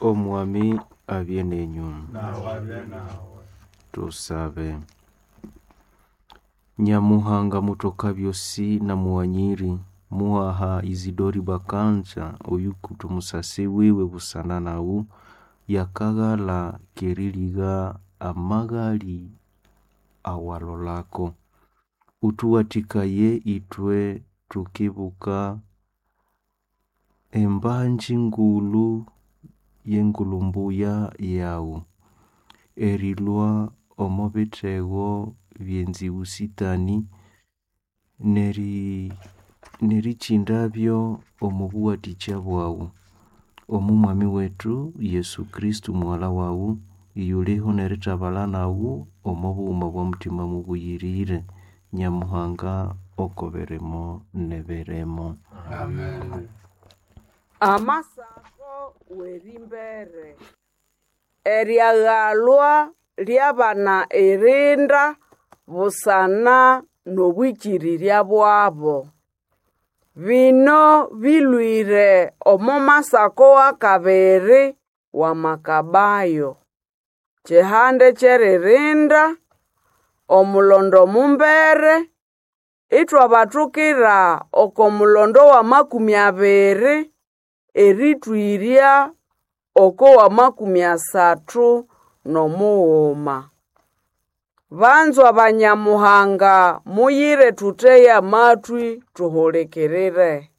Omwami abye nenyu. Nawe abye nawe. Tusabe. Nyamuhanga mutoka byosi na mughanyiri, muhaha Isidori Bakanja oyukuta omusasi wiwe busana nawu, yakaghala k'eriligha amaghali awalolako. Uthuwathikaye ithwe thukibuka embanji ngulhu y'engulhu mbuya yaghu, erilhwa omo bithego by'enziwu sitani, n'erikyindabyo omo buwathikya bwaghu. Omo mwami wethu Yesu Kristo mughalha waghu, iyuliho n'erithabalha naghu omo bughuma bwa Mutima Mubuyirire, Nyamuhanga oko birimo n'ebirimo. Amen. Amasako w'erimbere eryaghalwa lyabana irinda busana n'obwikirirya bwabo. Bino bilwire omo masako w'akabiri wa Makabayo. Kyihande ky'eririnda, omulondo mumbere, ithwabathukira oko mulondo w'amakumi abiri erithwirya oko w'amakumi asathu n'omughuma. Banzwa ba Nyamuhanga muyire thutheye amathwi thuhulikirire.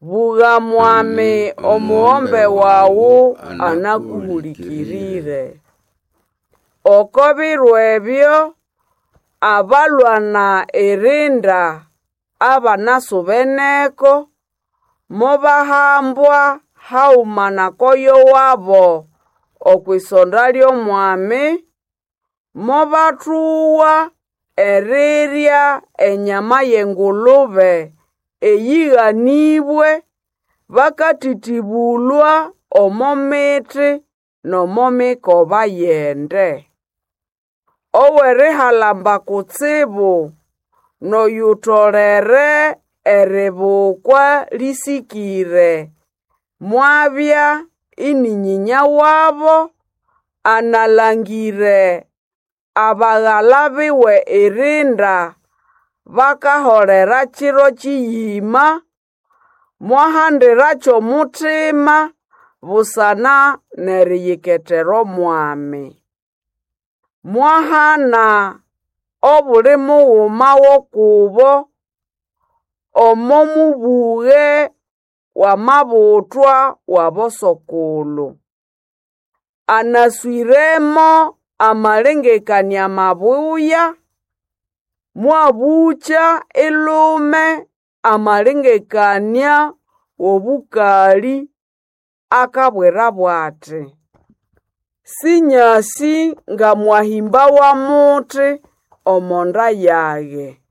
Bugha mwami omughombe waghu anakuhulikirire. Oko biro ebyo abalwana irinda abanasubeneko mobahambwa haghuma n'akoyo wabo okwisonda ly'omwami, mobathugha erirya enyama y'engulube eyighanibwe bakathithibulwa omo mithi n'omo mikoba y'ende. Ow'erihalamba kutsibu n'oyutolere eribukwa lĩsĩkĩre mwabya ini nyinya wabo analangĩre abaghala biwe irinda bakaholera kiro kiyima, mwahandira ky'omutima busana n'eriyiketera Omwami. Mwahana obuli mughuma w'okubo omo mubughe w'amabuthwa w'abosokulhu. Anaswiremo amalengekania mabuya, mwabũkya ilume amalengekania w'obũkalĩ akabwirabo ati, Sinyasi ngamwahimbawa muthi omo nda yage.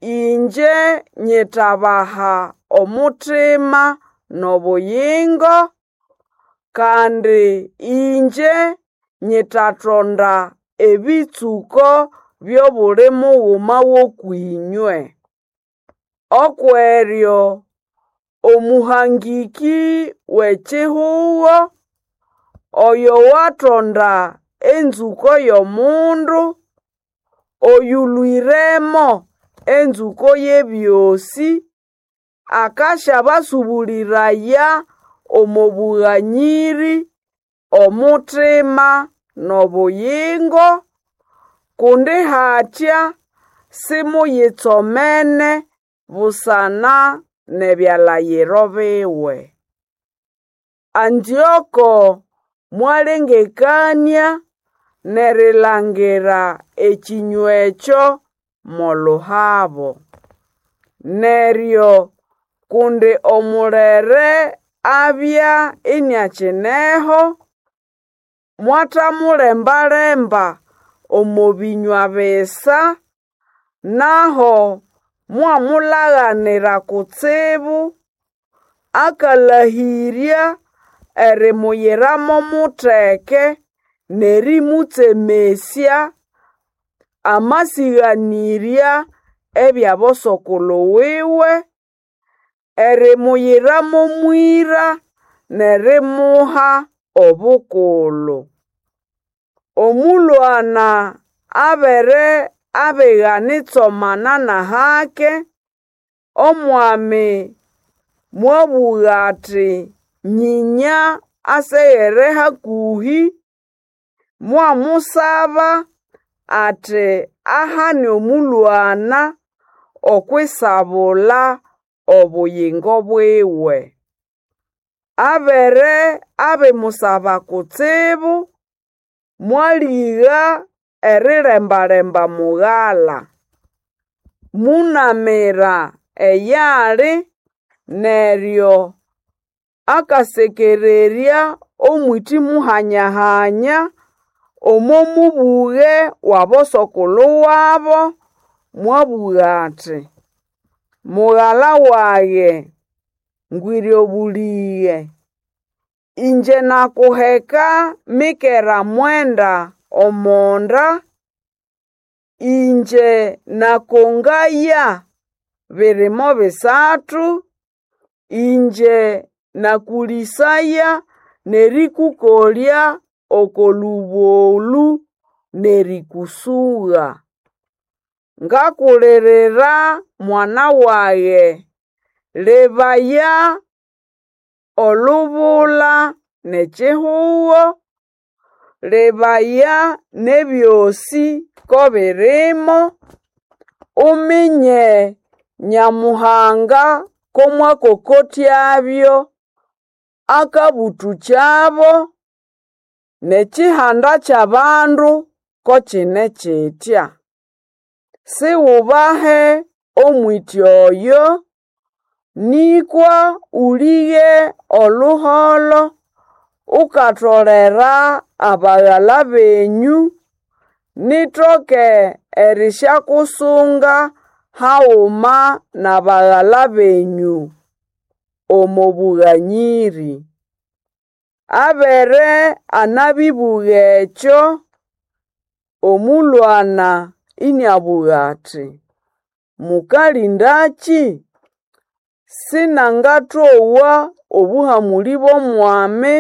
Ingye nyithabaha omuthima n'obuyingo, kandi ingye nyithathonda ebitsuko by'obuli mughuma w'okw'inywe. Okweryo omuhangĩkĩ w'ekihugo, oyo wathonda enzũko y'omundu, oyũlwĩremo enzũko y'ebyosĩ, akasyabasũbũlĩraya omo bũghanyĩrĩ, omuthima n'obuyingo, kundi hatya simuyitsomene busana n'ebyalayiro biwe. Antioko mwalengekania n'erilangira ekĩnywa ekyo mo luhabo. Neryo kundi omulere abya iniakineho, mwathamulembalemba omo bĩnywa bisa, naho mwamulaganira kutsibu, akalahĩrya erimuyira mo mutheke n'erĩmũtsemesya amasĩganĩrya eby'abosokulhu wiwe, erimuyira mo mwĩra. n'erimuha obukulhu. Omulwana abere abigana itsomana n'ahake, omwami mwabugha athi nyinya aseghere hakuhi, mwamusaba ati ahane omulwana okwisabula obuyingo bwiwe. Abere abimusaba kutsibu, mwaligha erilembalemba mughala. Munamira eyali neryo akasekererya omwiti muhanya-hanya omo mubughe w'abosokulhu wabo, mwabugha ati, mughala wage, ngwire obulighe, ingye nakuheka mikera mwenda omonda, ingye nakongaya birimo bisathu, ingye nakulisaya n'erĩkũkolya oko lũbũlũ n'erĩkũsũgha. Ngakulirira mwana wage, lebaya olubula n'ekihugo, lebaya n'ebyosĩ ko birimo, uminye Nyamuhanga ko mwakokotyabyo akabũtũkyabo n'ekihanda ky'abandu ko kine kitya. Siwubahe omwiti oyo, nĩkwa ũlĩge oluholo ukatolera abaghala benyũ, nitoke erisyakusunga haghuma n'abaghala benyũ omo bughanyiri. Abere anabibugha ekyo, omulwana iniabugha ati, mukalindaki? Sinangatowa obuhamulĩ bw'omwami,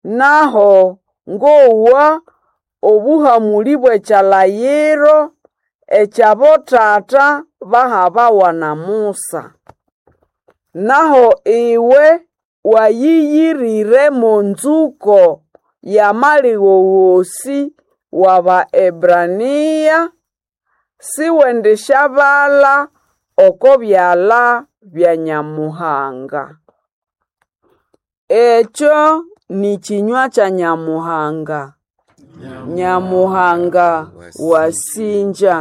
naho ngowa obuhamulĩ bw'ekyalayiro eky'abotata bahabawa na Musa. Naho iwe wayiyirire mo nzuko y'amaligho gosĩ w'Abaebrania, siwendisyabala oko byala bya Nyamuhanga. Ekyo ni kĩnywa kya Nyamuhanga. Nyamuhanga wasingya.